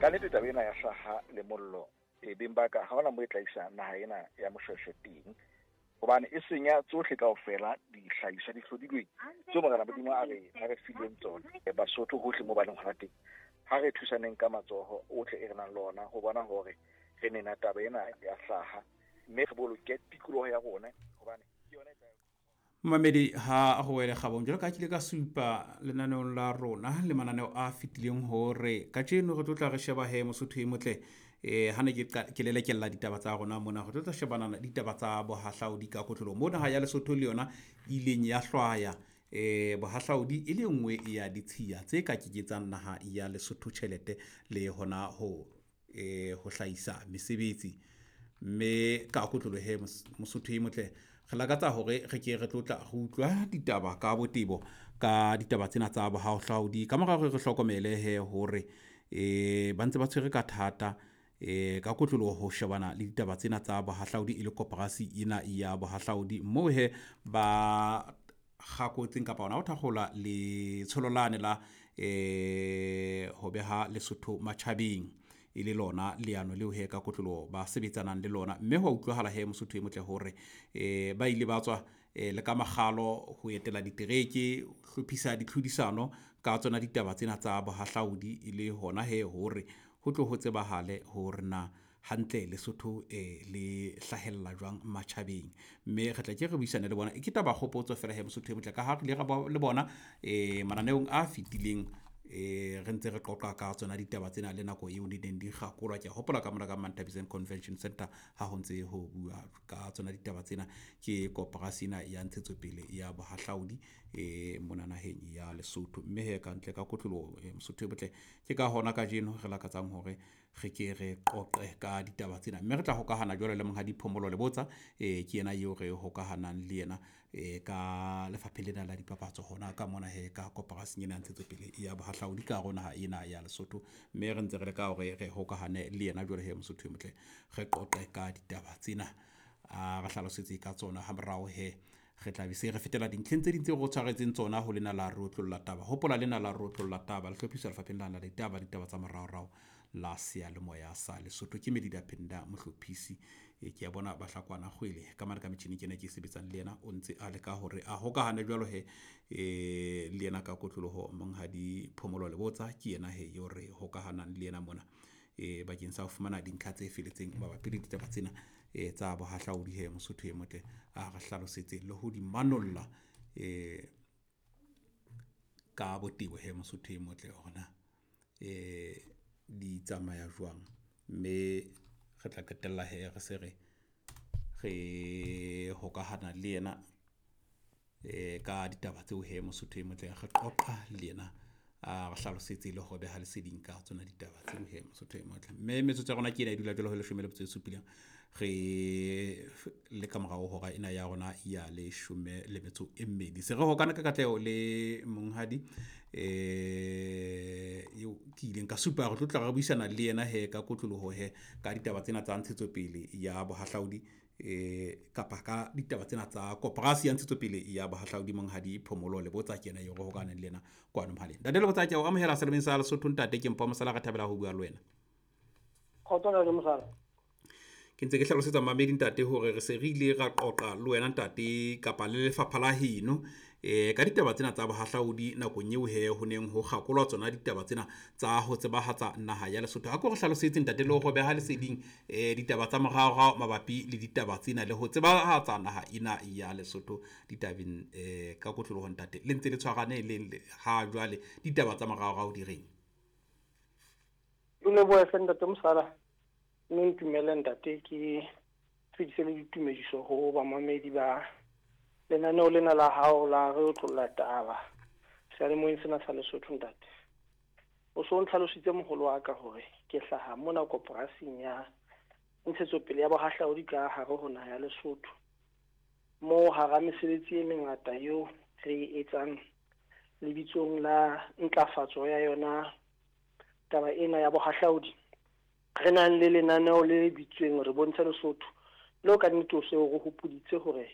Ka nnete taba ena ya hlaha le mollo e beng ba ka ha hona mo e tla isa naha ena ya Moshoeshoe teng, hobane e senya tsohle kaofela dihlahiswa di hlodilweng tseo Morena Modimo a re fileng tsona. Basotho hohle mo ba leng hona teng, ha re thusaneng ka matsoho ohle e re nang le ona ho bona hore re nena taba ena ya hlaha, mme re boloke tikoloho ya rona hobane ke yona e tla. Mamedi ha ho wele kgabong jwalo ka kile ka supa lenaneong la rona le mananeo a fetileng hore kajeno re tlo tla re sheba he Mosotho e motle. Ha ne ke lelekella ditaba tsa rona mona, re tlo tla shebana le ditaba tsa bohahlaudi ka kotloloho mo naha ya Lesotho le yona ileng ya hlwaya bohahlaudi e le nngwe ya ditshiya tse ka kenyetsang naha ya Lesotho tjhelete le hona ho hlahisa mesebetsi. Mme ka kotloloho he Mosotho e motle, re lakatsa hore re ke re tlotla re utlwa ditaba ka botebo ka ditaba tsena tsa bohahlaudi. Ka mora hore re hlokomele he hore ba ntse ba tshwere ka thata ka kotloloho ho shebana le ditaba tsena tsa bohahlaudi e le koporasi ena ya bohahlaudi, moo he ba kgakotseng kapa hona ho thakgola letsholo lane la ho beha Lesotho matjhabeng e le lona leano leo he ka kotloloho ba sebetsanang le lona. Mme ho utlwahala he Mosotho e motle hore ba ile ba tswa le ka makgalo ho etela ditereke, ho hlophisa ditlhodisano ka tsona ditaba tsena tsa bohahlaudi, e le hona he hore ho tlo ho tsebahale hore na hantle Lesotho le hlahella jwang matjhabeng. Mme re tla ke re buisane le bona. Ke taba kgopotso fela he Mosotho e motle, ka ha re ile ra le bona mananeong a fetileng re ntse re qoqa ka tsona ditaba tsena le nako eo di neng di kgakolwa. Ke a hopola ka mona ka Manthabiseng Convention Center ha ho ntse ho bua ka tsona ditaba tsena ke koporasi ena ya ntshetsopele ya bohahlaudi mona naheng ya Lesotho. Mme he ka ntle ka kotloloho Mosotho e motle, ke ka hona kajeno re lakatsang hore re ke re qoqe ka ditaba tsena. Mme re tla hokahana jwalo le Monghadi Phomolo Lebotsa, ke yena eo re hokahanang le yena ka lefapheng lena la dipapatso hona ka mona he ka koporasing ena ya ntshetsopele ya bohahlaudi ka hare ho naha ena ya Lesotho. Mme re ntse re leka hore re hokahane le yena jwalo he Mosotho e motle, re qoqe ka ditaba tsena, a re hlalosetse ka tsona. Ha morao he re tla be se re fetela dintlheng tse ding tseo re tshwaretseng tsona ho lena la re otlolla taba. Hopola lena la re otlolla taba le hlophiswa lefapheng lena la ditaba, ditaba tsa moraorao la seyalemoya sa Lesotho. Ke Medida Penda mohlophisi. Ke a bona Bahlakwana Kgwele ka mane ka metjhini ke ena ke sebetsang le yena, o ntse a leka hore a hokahane jwalo he le yena ka kotloloho. Monghadi Phomolo Lebotsa ke yena he eo re hokahanang le yena mona bakeng sa ho fumana dintlha tse feletseng mabapi le ditaba tsena tsa bohahlaudi he Mosotho e motle, a re hlalosetse le ho di manolla ka botebo he Mosotho e motle hore na di tsamaya jwang. Mme re tla qetella he re se re re hokahana le yena ka ditaba tseo he Mosotho e motle, re qoqa le yena a re hlalosetse le ho beha leseding ka tsona ditaba tseo he Mosotho e motle. Mme metsotso ya rona ke ena e dula jwalo ho 17 re le ka morao hora ena ya rona ya 12. Se re hokana ka katleho le monghadi eo ke ileng ka supa re tlo tla re buisana le yena he ka kotloloho he ka ditaba tsena tsa ntshetsopele ya bohahlaudi kapa ka ditaba tsena tsa koporasi ya ntshetsopele ya bohahlaudi. Monghadi Phomolo Lebotsa ke yena eo re hokaneng le yena kwano mohaleng. Ntate Lebotsa, ke a o amohela selemeng sa Lesotho. Ntate ke Mpho Mosala, re thabela ho bua le wena. Kgotso ntate Mosala. Ke ntse ke hlalosetsa mamedi ntate hore re se re ile ra qoqa le wena ntate kapa le lefapha la heno ka ditaba tsena tsa bohahlaudi nakong eo he ho neng ho kgakolwa tsona ditaba tsena tsa ho tsebahatsa naha ya Lesotho. Ha ko re hlalosetse ntate le ho beha leseding ditaba tsa moraorao mabapi le ditaba tsena le ho tsebahatsa naha ena ya Lesotho ditabeng ka kotloloho ntate. Le ntse le tshwarane le ha jwale ditaba tsa moraorao di reng? O lebohe hle ntate Mosala. Mme ntumelle ntate ke fetise le ditumediso ho bamamedi ba lenaneo lena la hao la re otlolla taba seyalemoyeng sena sa Lesotho ntate. O so ntlhalositse moholo wa ka hore ke hlaha mona koporasing ya ntshetsopele ya bohahlaudi ka hare ho naha ya Lesotho, moo hara mesebetsi e mengata eo re e etsang lebitsong la ntlafatso ya yona taba ena ya bohahlaudi, re nang le lenaneo le bitsweng re bontshe Lesotho, leo ka nnete o se o re hopoditse hore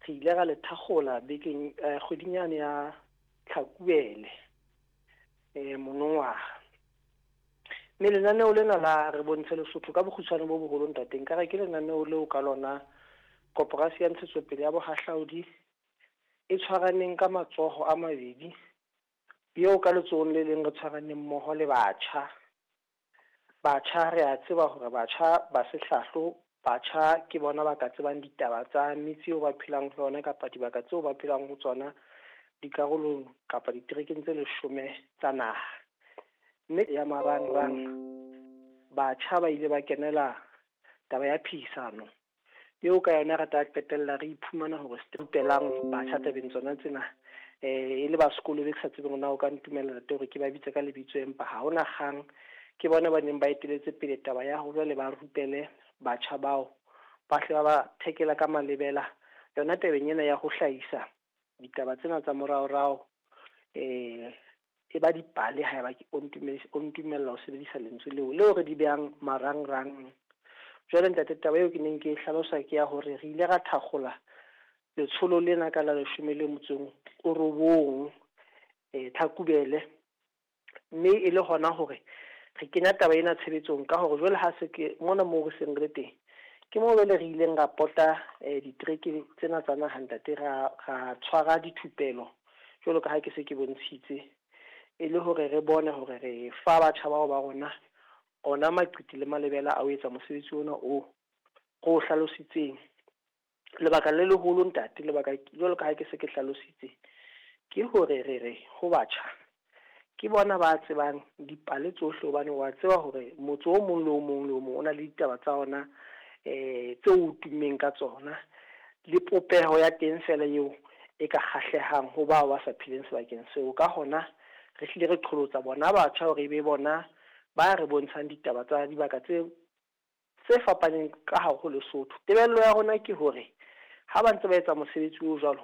re ile ra le thakgola bekeng kgweding yane ya Tlhakubele monongwaha. Mme lenaneo lena la Re Bontshe Lesotho ka bokgutshwane bo boholo ntate, nkare ke lenaneo leo ka lona Koporasi ya Ntshetsopele ya Bohahlaudi e tshwaraneng ka matsoho a mabedi, eo ka letsohong le leng re tshwaraneng mmoho le batjha. Batjha re a tseba hore batjha ba sehlahlo, batjha ke bona ba ka tsebang ditaba tsa metse eo ba phelang ho yona kapa dibaka tseo ba phelang ho tsona dikarolong kapa diterekeng tse 10 tsa naha. Mme ya marangrang, batjha ba ile ba kenela taba ya phehisano eo ka yona re tla qetella re iphumana hore se rupelang batjha tabeng tsona tsena. E le ba sekolo be ke sa tsebeng na o ka ntumella ntate hore ke ba bitse ka lebitso, empa ha hona kgang. Ke bona ba neng ba eteletse pele taba ya hore jwale ba rupele batjha bao, ba hle ba ba thekela ka malebela yona tabeng ena ya ho hlahisa ditaba tsena tsa moraorao. E ba dipale haeba o ntumella ho sebedisa lentswe leo, leo re di behang marangrang. Jwale ntate, taba eo ke neng ke e hlalosa ke ya hore re ile ra thakgola letsholo lena ka la 19 Tlhakubele, mme e le hona hore re kenya taba ena tshebetsong ka hore jwale ha se ke mona moo re seng re le teng, ke moo jwale re ileng ra pota ditereke tsena tsa naha ntate, ra tshwara dithupelo jwalo ka ha ke se ke bontshitse, e le hore re bone hore re fa batjha bao ba rona ona maqiti le malebela a ho etsa mosebetsi ona o re o hlalositseng. Lebaka le leholo ntate, lebaka jwalo ka ha ke se ke hlalositse, ke hore re re ho batjha ke bona ba tsebang dipale tsohle, hobane wa tseba hore motse o mong le o mong le o mong o na le ditaba tsa ona tseo o tummeng ka tsona, le popeho ya teng fela eo e ka kgahlehang ho bao ba sa pheleng sebakeng seo. Ka hona re hlile re qholotsa bona batjha hore e be bona ba re bontshang ditaba tsa dibaka tse fapaneng ka hare ho Lesotho. Tebello ya rona ke hore ha ba ntse ba etsa mosebetsi o jwalo,